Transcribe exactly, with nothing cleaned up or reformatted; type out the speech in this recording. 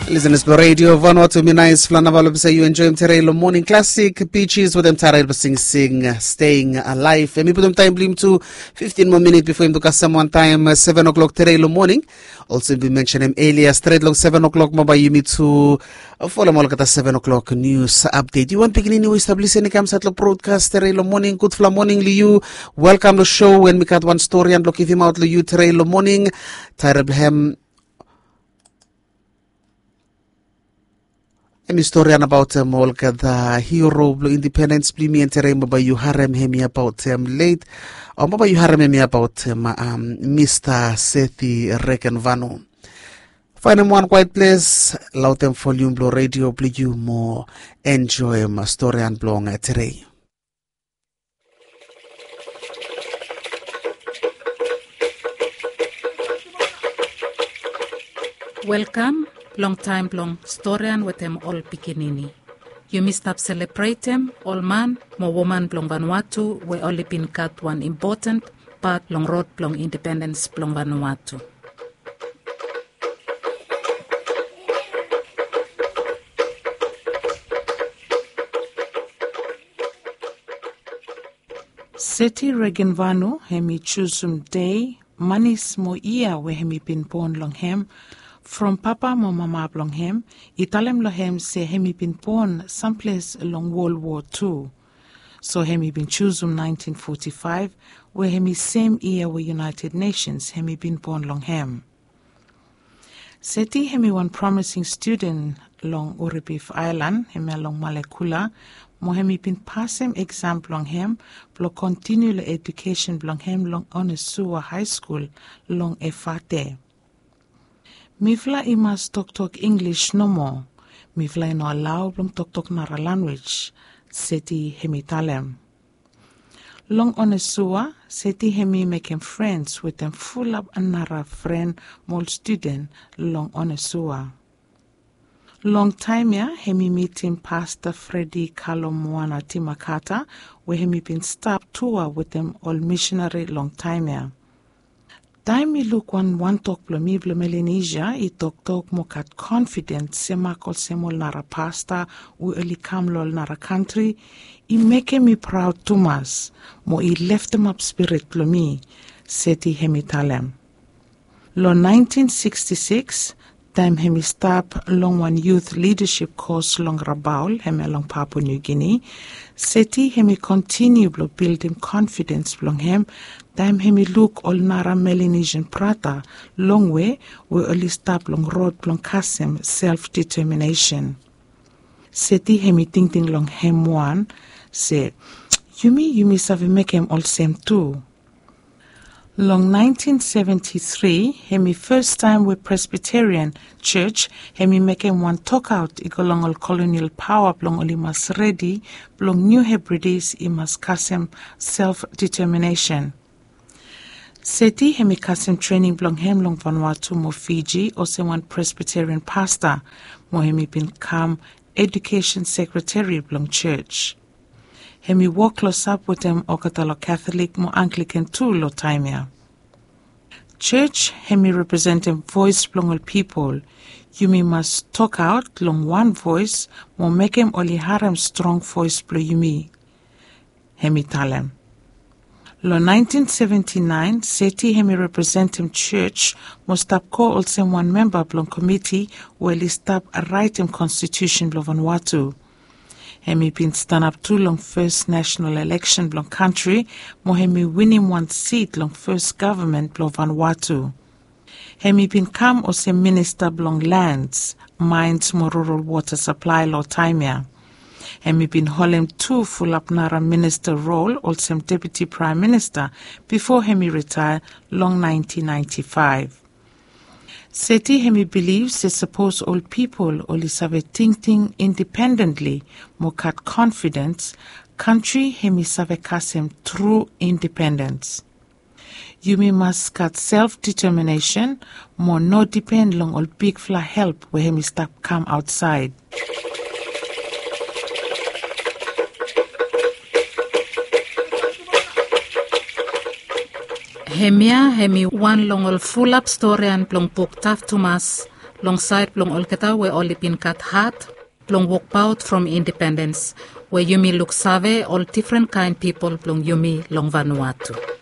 Listeners blong Radio Vanuatu, mi nais flanaval blong se yu enjoim tere long Morning Classic, Bee Gees wetem Tara Elba singsing, Staying Alive. Em i putum taim blong yumi tu fifteen moa minit bifo yumi tu kasem wantaim seven o'clock tere long moning. Olsem bi mensenim elia, stret long seven o'clock mo bai yumi tu folem olgeta seven o'clock news update. Yu wan pikinini we i stap lisin i kam sat long broadcast tere long moning, gudfala moning long yu. Welkam long show, we mi gat wan storian blong givimaot long yu tere long moning. Taerel blong hem em i storian abaotem olgeta hero blong indipendens blong yumi, en tere mo bai yu harem hem i abaotem leit, o mo bai yu harem hem i abaotem Mista Sethi Regenvanu. Faenem wan kwaet ples, laotem volium blong redio blong yu mo enjoem storian blong tere. Welkam long taem blong storian wetem ol pikinini. Yumi stap selebretem ol man mo woman blong Vanuatu we oli bin gat wan impoten pat long rod blong indipendens blong Vanuatu. Seti Regenvanu hem i jusum dei, manis mo yia we hem i bin bon long hem from papa mo mama blong hem i talem long hem se hem i bin bon samples long World War Two. So hem i bin jusum nineteen forty-five, we hem i sem yia we United Nations hem i bin bon long hem. Seti hem i wan promising studen long Uribif Aelan, hemia long Malekula, mo hem i bin pasem eksam blong hem blong kontiniu long edukesen blong hem long Onesua High School long Efate. Mifala i mas toktok English nomo. Mifala i no alao blong toktok nara lanwis, Seti hem i talem. Long Onesua, Seti hem i mekem frens wetem fulap nara fren mo ol studen long Onesua. Long taem ya hem i mitim Pasta Fredi Kalomoana Timakata, we hem i bin stap tua wetem ol misinari long taem ya. Taem mi luk wan wantok blong mi blong Melanesia i toktok mo gat konfidens semak olsem ol nara pasta we oli kam long ol nara kantri, i mekem mi praod tumas mo i leftemap spirit blong mi, Seti hem i talem. Long nineteen sixty-six, taem hem i stap long wan youth leadership kos long Rabaul, hemia long Papua New Guinea, Seti hem i kontiniu blong bildim konfidens blong hem taem hem i luk ol nara Melanesian brata longwe we oli stap long rod blong kasem self determination. Seti hem i tingting long hem wan se, yumi, yumi save mekem olsem tu. Long nineteen seventy-three, hem i fes taem we Presbyterian Church hem i mekem wan tokaot i go long ol kolonial paoa blong oli mas redi blong Niu Hebridis i mas kasem self determination. Seti hem i kasem trening blong hem long Vanuatu mo Fiji olsem wan Presbyterian pasta, mo hem i bin kam edukesen sekreteri blong church. Hem i wok klosap wetem olgeta long Katholik mo Anglikan tu long taem ya. Church hem i representem voes blong ol pipol. Yumi mas tokaot long wan voes mo mekem oli harem strong voes blong yumi, hem i talem. Long nineteen seventy-nine, Seti hem i representem church mo stap go olsem wan memba blong komiti we oli stap raetem konstitusen blong Vanuatu. Hem i bin stanap tu long fes nasenal eleksen blong kantri, mo hem i winim wan sit long fes gavman blong Vanuatu. Hem i bin kam olsem minista blong lans, maens mo rural wota saplae long taem ya. Hem i bin holem tu fulap nara minista rol olsem deputi praem minista bifo hem i ritaea long nineteen ninety-five. Seti hem i bilif se sapos ol pipol oli save tingting indipendentli mo gat konfidens, kantri hem i save kasem tru indipendens. Yumi mas gat self determinesen mo no dipen long ol bigfala help we hem i stap kam aotsaed. Hemia hem i wan long ol fulap storian blong buk Taf Tumas long saed blong olgeta we oli bin gat hat blong wokbaot from independens, we yumi luksave ol difren kaen pipol blong yumi long Vanuatu.